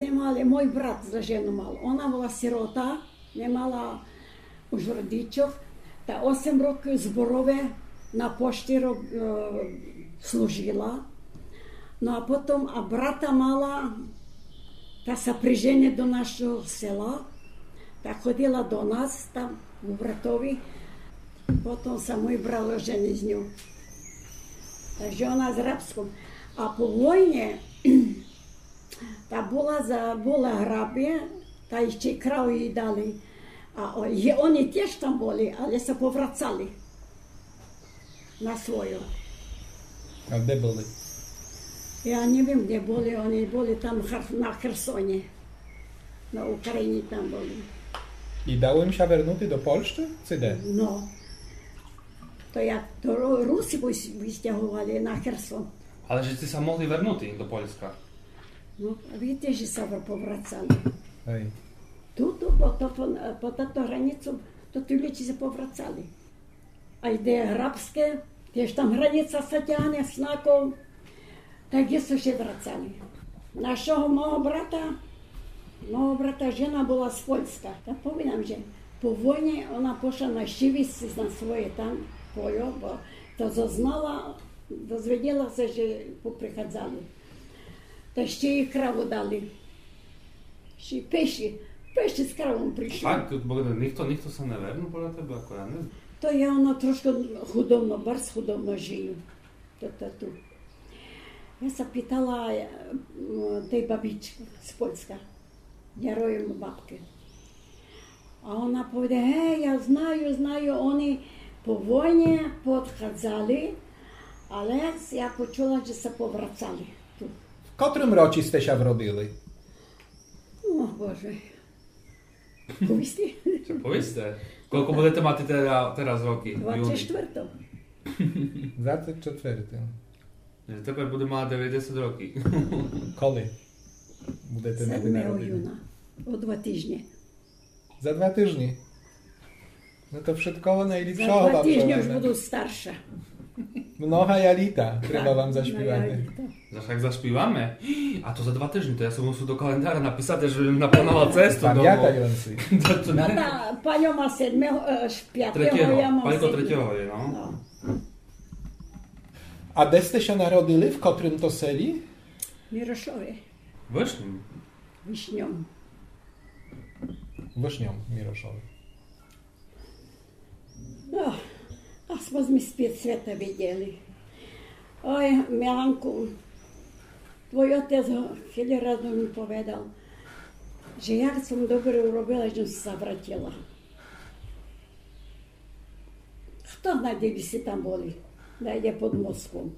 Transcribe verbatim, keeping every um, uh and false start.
Не мали, мой брат за жену мал. Она была сирота, не мала уж родичох, та осем років зборове на пошті роб-, е, служила. Но а потом, а брата мала, та ся прижени до нашого села, та ходила до нас там, у братови. Потом ся мой брат ожени з ню. Так же она з Рабском. А по войні та была за, была Грабі, та іщи й краву їй дали. А о-, є, они тіж там были, але ся поврацали на свойо. А де были? Я не вім, де были, они были там в Хер-, на Херсоні. На Україні там были. І дало їм ся вернути до Польщы? Ци де? Но. То як, то Ру-, Руси выс-, выстяговали на Херсон. Але же сте ся могли вернути до Польска? Но, а видите, же ся поврацали. Гей. Ту, ту, по, то, по, по тато границу, то ті люде ся поврацали. А йде Грабске, тіж там граница ся тягне, Снаков. Так є ся врацали. Нашого мого брата, мого брата жена была з Польска. Та повім вам, же по войні она пошла нащівити на своє там пойо, бо то зазнала, дозвіділа ся, же поприходзали. Та іщи їй краву дали. Іщи пеші, пеші з кравом пришли. Так, ту было, нихто, нихто ся не вернув, поля тебе, ако я не знам. То я, она трошка худобно, барз худобно жию. То, то ту. Я ся питала, е, м, тей бабичкы з Польска, Яроєм бабкы. А она повідала: «Гей, я знаю, знаю, они по войні поодходзали, але я почула, же ся поврацали ту». В котрым році сте ся вродили? О, Боже. Повісти? Ци повісте? Кілько будете мати тера-, тераз рокы? Двадцять четвертого. Двадцять четвертого. Тепер буде мати девятдесят років. Коли будете мати народины? Седмого юна. О два тыжні. За два тыжні. Но то вшыткого найліпшого вам желаме. За два тыжні уж буду старша. Многая літа треба вам заспівати. Многая літа. Заш як заспіваме? А то за два тыжні, то я собі мушу до календаря написати, же бым наплановав цесту домов. Памятаюці. Но та паньо ма седмого, е, аж пятого, я мам седмого. Панько третього є, но. Но. А де сте ся народили, в котрым то селі? Мірошові. Вышньом? Вышньом. Вышньом, Мірошові. Но, а сьме з під світа виділи. Ой, Міланку, твой отець го-, хыли раз ми повідал, же як сом добре уробила, же сом ся вратила. Хто знає, де бы сьте там были, найде під Москвом.